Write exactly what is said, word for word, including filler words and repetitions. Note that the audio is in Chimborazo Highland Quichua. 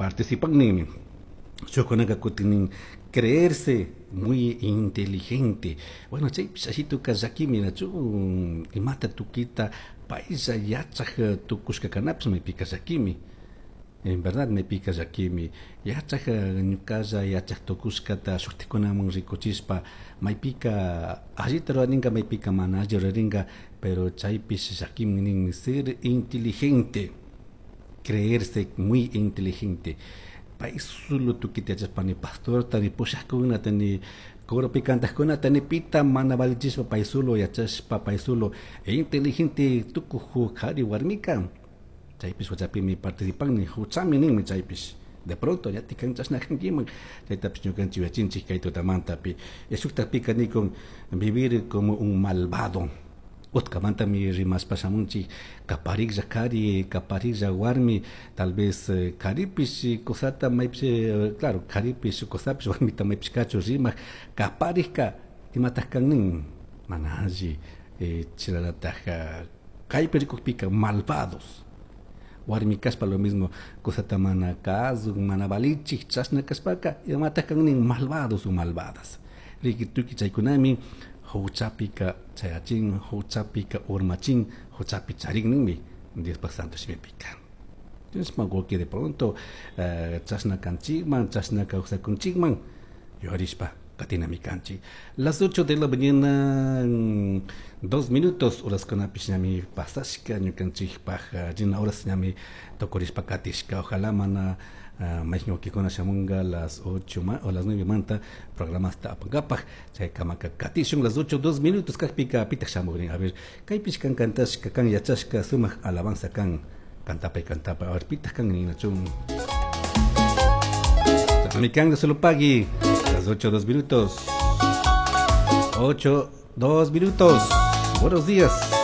Participan ninmi. Shukkunaka kutin creerse muy inteligente. Bueno, chaypish ashituka llakimi, nachu? Imata tukita paylla yachaj tukushka kanapish maypika llakimi. En verdad maypika llakimi. Yachaj ñukalla yachaj tukushkata shuktikunaman rikuchishpa maypika allita rurarinka, maypika mana alli rurarinka, pero chaypish llakimi nin, ser inteligente, creerse muy inteligente. Pay solo tukita yachashpa ni pastorta ni pushajkunata ni coropi kantajkunata ni pita mana valichishpa pay solo yachashpa pay solo inteligente tukuj kari warmika chaypish huchapimi participan ni huchami ninmi chaypish. De pronto ya tikan chashna kankiman chaytapish ñukanchik yachinchik kay tutamantapi. Shuktapika nikun vivir como un malvado. Utkamantami rimashpa shamunchik kapariklla kari, kapariklla warmi, tal vez karipish cosata maypish, claro, karipish cosapish warmita maypish kachu rimak kaparikka imataj kan nin mana alli chilalataj kaypi rikukpika malvados. Warmi kashpa lo mismo cosata mana kasuk mana valichik chashna kashpaka imataj kan nin malvados o malvadas. Riki tuki chaykunami huchapika chayachin, huchapika urmachin, huchapi charin ninmi Diospa santo shimipika. Entonces mago que de pronto chashna kanchikman, chashna kawsakunchikman yuyarishpa katinami kanchik. Las ocho de la mañana dos minutos horaskunapish ñami pasashka ñukanchikpaj rina horas ñami tukurishpa katishka. Ojalá mana mayqin wawqikuna shamunga las ocho o las nueve manta programasta apankapaj chaykamaka katishun. Las ocho dos minutos kajpika pitaq shamugrin. A ver, kaypish kan kantashka kan yachashka sumaq alabanza kan kantapay kantapay. A ver, pitaq kan ninachun. Chashnami kan solo pagui. Las ocho dos minutos. Ocho dos minutos. Buenos días.